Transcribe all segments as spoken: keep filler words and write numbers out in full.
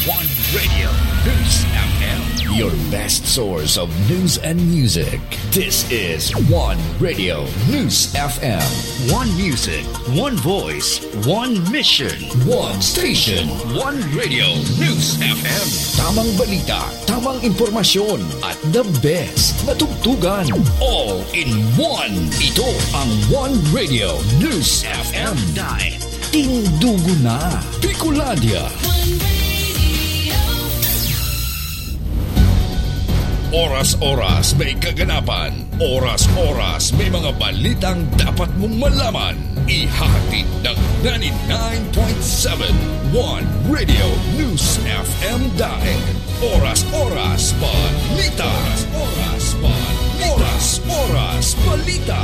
One Radio News F M, your best source of news and music. This is One Radio News F M. One music, one voice, one mission. One station, One Radio News F M. Tamang balita, tamang impormasyon, at the best na tugtugan. All in one. Ito ang One Radio News F M. Dai, tindugo na, Bicolandia. Oras-oras may kaganapan. Oras-oras may mga balitang dapat mong malaman. Ihahatid ng ninety-nine point seven One Radio News F M Dai. Oras-oras balita. Oras-oras balita. Oras-oras balita.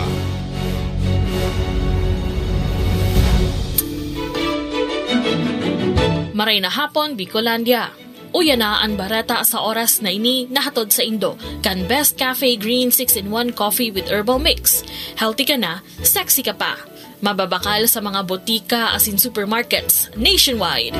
Maray na hapon, Bicolandia. Uya na an bareta sa oras na ini, nahatod saindo kan Best Cafe Green six-in-one Coffee with Herbal Mix. Healthy ka na, sexy ka pa. Mababakal sa mga botika asin supermarkets nationwide.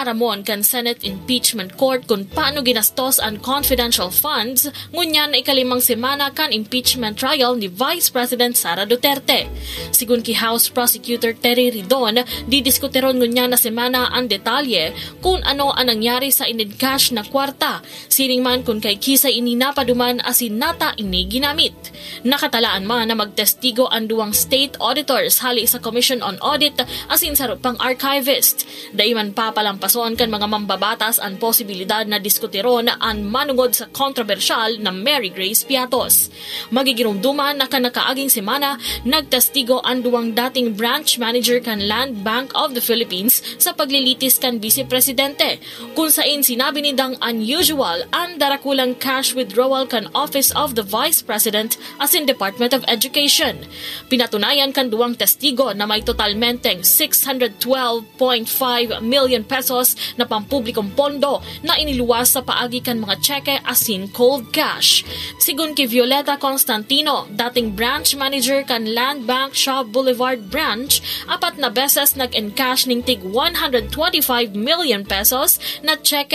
Aaramon kan Senate Impeachment Court kun paano ginastos an confidential funds ngunyan na ikalimang semana kan impeachment trial ni Vice President Sara Duterte. Sigun ki House Prosecutor Terry Ridon, didiskutiron ngunyan na semana an detalye kun ano an nangyari sa in-encash na kwarta, siring man kun kay kisay ini napaduman asin nata ini ginamit. Nakatalaan man na magtestigo an duwang state auditors hali sa Commission on Audit asin saro pang archivist. Dai man papalampason kan mga mambabatas an posibilidad na diskutiron an manongod sa kontrobersyal na Mary Grace Piatos. Magigiromdoman na kan nakaaging semana, nagtestigo an duwang dating branch manager kan Land Bank of the Philippines sa paglilitis kan Vice Presidente, kun sain sinabi nindang unusual an darakulang cash withdrawal kan Office of the Vice President asin Department of Education. Pinatunayan kan duwang testigo na may totalmenteng six hundred twelve point five million pesos na pampublikong pondo na iniluwas sa paagi kan mga tseke asin cold cash. Sigun ki Violeta Constantino, dating branch manager kan Land Bank Shaw Boulevard Branch, apat na beses nag-encash ning tig one hundred twenty-five million pesos na tseke